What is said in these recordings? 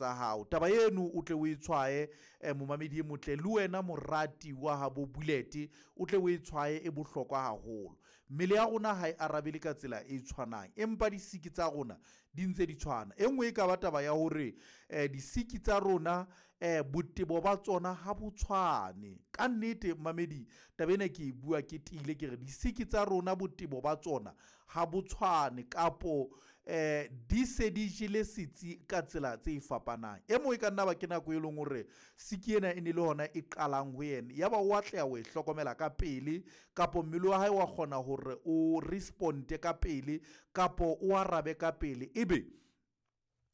tsa hao. Taba eno o tle o e tshwaye, momamedi e motle, le wena morati wa habo Bullet, o tle o e tshwaye, e bohlokwa haholo. Mmele ya rona ha e arabele ka tsela e tshwanang, empa disiki tsa rona di ntse di tshwana. E nngwe e ka ba taba ya hore disiki tsa rona, botebo ba tsona ha bo tshwane. Ka nnete mamedi, taba ena ke e bua ke tiile, ke re disiki tsa rona botebo ba tsona ha bo tshwane, kapo di se di jele setsi ka tsela tse fapanang. E mong e ka nna ba ke nako e leng hore siki ena e ne le hona e qalang ho yena, yaba o atleha ho e hlokomela ka pele, kapo mmele wa hae wa kgona hore o responde ka pele, kapo o arabe ka pele. Ebe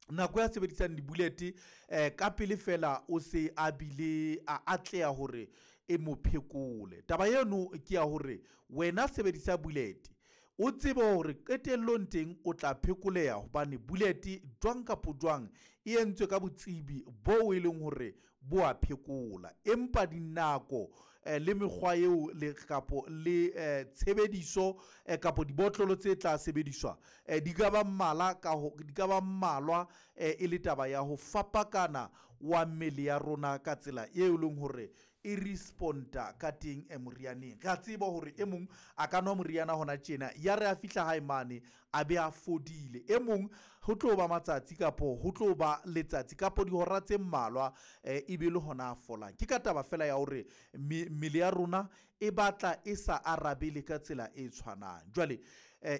nako ya sebedisang di-bullet ka pele fela o se a bile a atleha hore e mo phekole. Taba eno ke ya hore wena sebedisa bullet, o tsebe hore qetellong teng o tla phekoleha, hobane bullet jwang kapo jwang e entswe ka botsebi bo e leng hore bo a phekola. Empa dinako le mekgwa eo le kapo le tshebediso kapo dibotlolo tse tla sebediswa, di ka ba mmala ka ho di ka ba mmalwa, e le taba ya ho fapakana wa mmele ya rona ka tsela eo e leng hore e responda ka teng morianeng. Re a tseba hore e mong a ka nwa moriana hona tjena, ya re a fihla hae mane a be a fodile. E mong ho tlo ba matsatsi kapo ho tlo ba letsatsi kapo dihora tse mmalwa, e be le hona a folang. Ke ka taba fela ya hore mmele ya rona e batla e sa arabele ka tsela e tshwanang. Jwale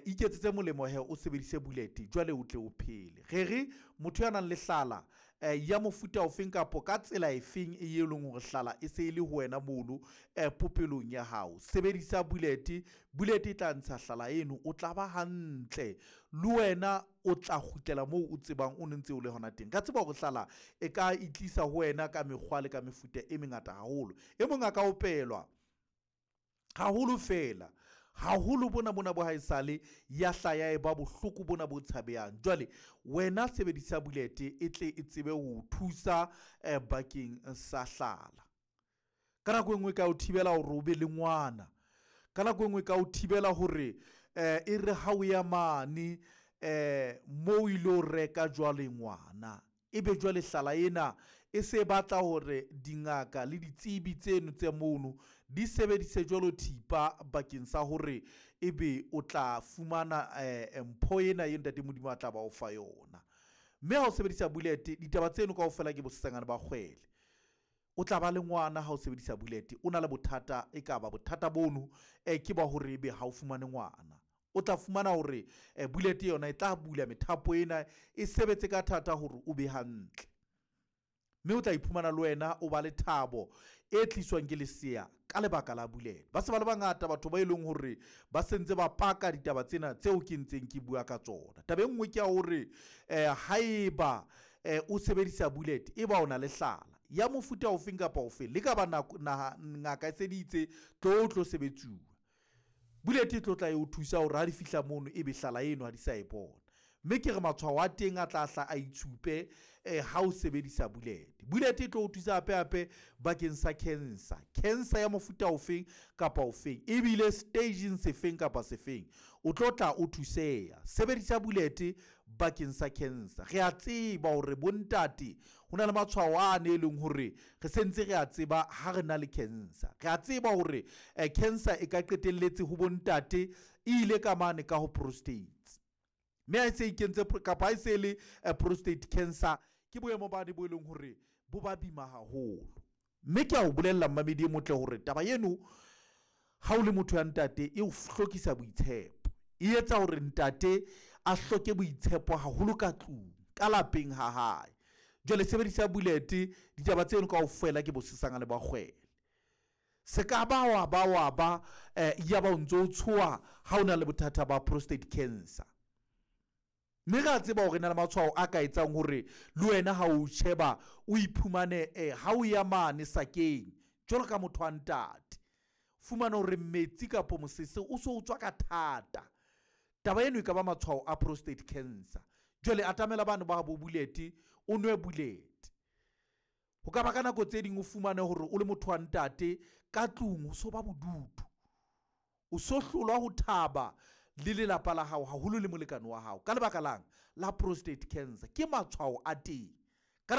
iketsetse molemo he, o sebedise bullet jwale o tle o phele. Re re motho ya nang le hlala ya mofuta ofeng kapo ka tsela efeng e leng hore hlala e se e le ho wena mono popelong ya hao, sebedisa bullet. Bullet e tla ntsha hlala eno, o tla ba hantle, le wena o tla kgutlela moo o tsebang o ne ntse o le hona teng. Ka tseba hore hlala e ka itlisa ho wena ka mekgwa le ka mefuta e mengata haholo. E mong a ka opelwa haholo fela haholo, bona bona bo haesale ya hlaya e ba bohloko bona bo tshabehang. Jwale wena sebedisa bullet e tle e tsebe ho thusa bakeng sa hlala. Ka nako e nngwe ka o thibela hore o be le ngwana, ka nako e nngwe ka o thibela hore e re ha o ya mane mo o ilo reka jwale ngwana, ebe jwale hlala ena e se batla hore dingaka le ditsebi tseno tse mono di sebedise jwalo thipa bakeng sa hore ebe o tla fumana mpho ena e ntate Modimo a tla ba o fa yona. Mme ha o sebedisa bullet, ditaba tseno kaofela ke bosesangane ba kgwele. O tla ba le ngwana ha o sebedisa bullet, o na le bothata, e ka ba bothata bono ke ba hore ebe ha o fumane ngwana. O tla fumana hore bullet yona e tla bula methapo ena e sebetse ka thata hore o be hantle, mme o tla iphumana le wena o ba le thabo e tliswang ke lesea ka lebaka la bullet. Ba se ba le bangata batho ba e leng hore ba sentse ba paka ditaba tsena tseo ke ntseng ke bua ka tsona. Taba e nngwe ke ya hore haeba o sebedisa bullet, e ba o na le hlala ya mofuta ofeng kapa ofeng, le ka ba naha ngaka e seditse tlo tlo sebetsuwa, bullet e tlo tla e o thusa hore ha di fihla mono ebe hlala eno ha di sa e bona. Mme ke re matshwao a teng a tla hla a itshupe ha o sebedisa bullet. Bullet e tlo o thusa hape hape bakeng sa cancer, cancer ya mofuta ofeng kapa ofeng, ebile stageng sefeng kapa sefeng, o tlo tla o thuseha. Sebedisa bullet bakeng sa cancer. Re a tseba hore bontate ho na le matshwao a ne e leng hore re sentse re a tseba ha re na le cancer. Re a tseba hore cancer e ka qetelletse ho bontate e ile ka mane ka ho prostate, mme ha e se ikentse kapa ha e se le prostate cancer, ke boemo bane bo e leng hore bo ba bima haholo. Mme ke a o bolella mmamedi e motle hore taba eno ha o le motho ya ntate e o hlokisa boitshepo, e etsa hore ntate a hloke boitshepo haholo ka tlung, ka lapeng ha hae. Jwale sebedisa bullet, ditaba tseno kaofela ke bosesangane ba kgwele. Se ka ba wa ba wa ba ya ba o ntso o tshoha ha o na le bothata ba prostate cancer. Mme re a tseba hore na le matshwao a ka etsang hore le wena ha o sheba o iphumane ha o ya mane sakeng jwalo ka motho wa ntate, fumana hore metsi kapo mosese o so o tswa ka thata. Taba eno e ka ba matshwao a prostate cancer. Jwale atamela bano ba bo bullet, o nwe bullet. Ho ka ba ka nako tse ding o fumane hore o le motho wa ntate ka tlung o so ba bodutu, o so hlolwa ho thaba le lelapa la hao haholo le molekane wa hao ka lebaka lang la prostate cancer. Ke matshwao a teng.